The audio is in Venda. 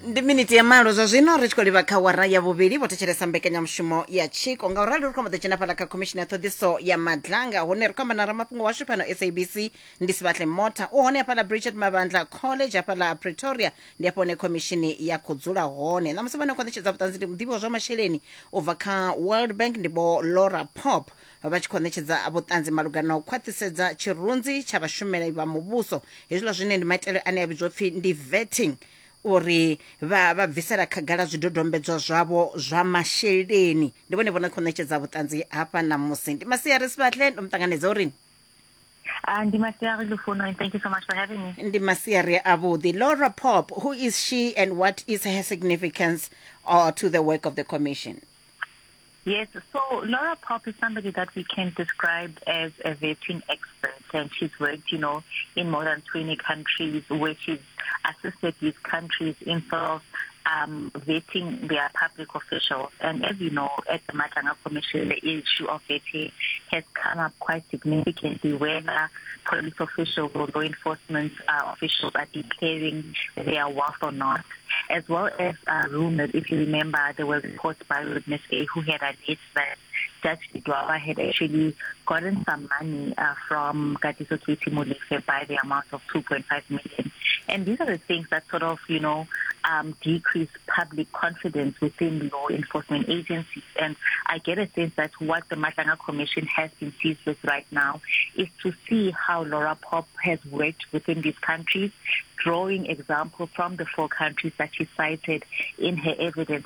Ndi miniti ya malo zwa zwino ri tshi khou livha kha wara ya vhuvhili. Vho thetshelesa mbekanyamushumo ya Tshiko. Nga u rali ri khou amba ḓo dzhena fhaḽa kha Khomishini ya Ṱhoḓiso ya Madlanga, hune ri khou amba na ramafhungo washu fhano SABC ndi Sibahle Motha. U hone hafhaḽa Bridget Mabandla College hafhaḽa Pretoria, ndi hafho hune khomishini ya khou dzula hone ṋamusi. Vhane khou ṋetshedza vhuṱanzi ndi muḓivhi wa zwa masheleni u bva kha World Bank, ndi Vho Laura Pop, vha tshi khou ṋetshedza vhuṱanzi malugana na u khwaṱhisedza tshirunzi tsha vhashumeli vha muvhuso, hezwiḽa zwine ndi maitele ane a vhidzwa upfi ndi vetting, uri vha vha bvisela khagala zwidodombedzwa zwavho zwa masheleni. Ndi vhone vho no khou ṋetshedza vhuṱanzi hafha ṋamusi. Ndi masiari Sibahle, ndo mu ṱanganedza uri Ndi masiari Lufuno, and thank you so much for having me. Ndi masiari avhuḓi. Laura Pop, who is she and what is her significance to the work of the commission? Yes, so Laura Pop is somebody that we can describe as a vetting expert, and she's worked, you know, in more than 20 countries where she's assisted these countries in sort of vetting their public officials. And as you know, at the Madlanga Commission, the issue of vetting has come up quite significantly, whether police officials or law enforcement officials are declaring their wealth or not, as well as rumors. If you remember, there were reports by witness A who had alleged that Judge Ledwaba had actually gotten some money from Katiso Katie Molefe by the amount of 2.5 million. And these are the things that sort of, you know, decrease public confidence within law enforcement agencies. And I get a sense that what the Madlanga Commission has been seized with right now is to see how Laura Pop has worked within these countries, drawing example from the four countries that she cited in her evidence.